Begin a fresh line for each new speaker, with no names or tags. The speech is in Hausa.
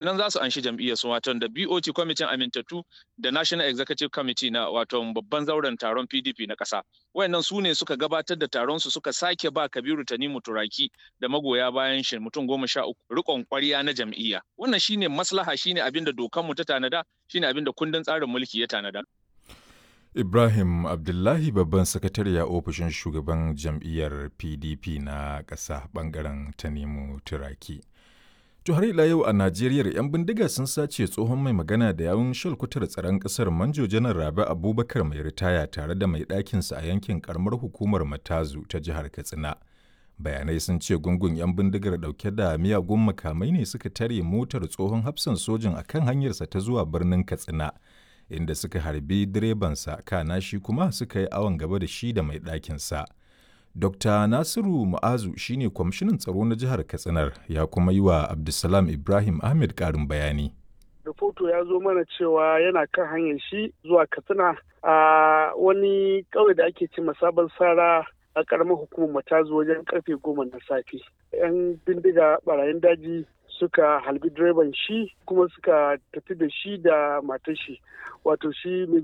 Nan za su anshi jam'iyyar su, wato da BOT, kwamitin amintattu, da National Executive Committee na wato babban zauren taron PDP na ƙasa. Wayannan su ne suka gabatar da taron su, suka sake ba Kabiru Tanimu Turaki da magoya bayan shi mutum 13 riƙon ƙwarya na jam'iyya. Wannan shine maslaha, shine abin da dokanmu ta tanada, shine abin da kundin tsarin mulki ya tanada.
Ibrahim Abdullahi, babban sakatare a ofishin shugaban jam'iyyar PDP na ƙasa, ɓangaren Tanimu Turaki. To, har ila yau a Najeriya, 'yan bindiga sun sace tsohon mai magana da yawun shalkutar tsaron ƙasar, Manjo Janar Rabi Abubakar mai ritaya, tare da mai ɗakinsa a yankin karamar hukumar Matazu ta jihar Katsina. Bayanai sun ce gungun 'yan bindigar ɗauke da miyagun makamai ne suka tare motar tsohon hafsan sojin a kan hanyarsa ta zuwa birnin Katsina, inda suka harbi direbansa, kana shi kuma suka yi awon gaba da shi da mai ɗakinsa. Dr. Nasiru Mu'azu shine kwamishinan tsaro na jihar Katsinar, ya kuma yi wa Abdulsalam Ibrahim Ahmed ƙarin bayani.
Rahoto ya zo mana cewa yana kan hanyar shi zuwa Katsina a wani ƙauye da ake ce Sabon Sara a ƙaramar hukumar Matazu wajen karfe 10 na safe. 'Yan bindiga barayin daji suka halbi direban shi kuma suka tafi da shi da matar shi, wato shi Major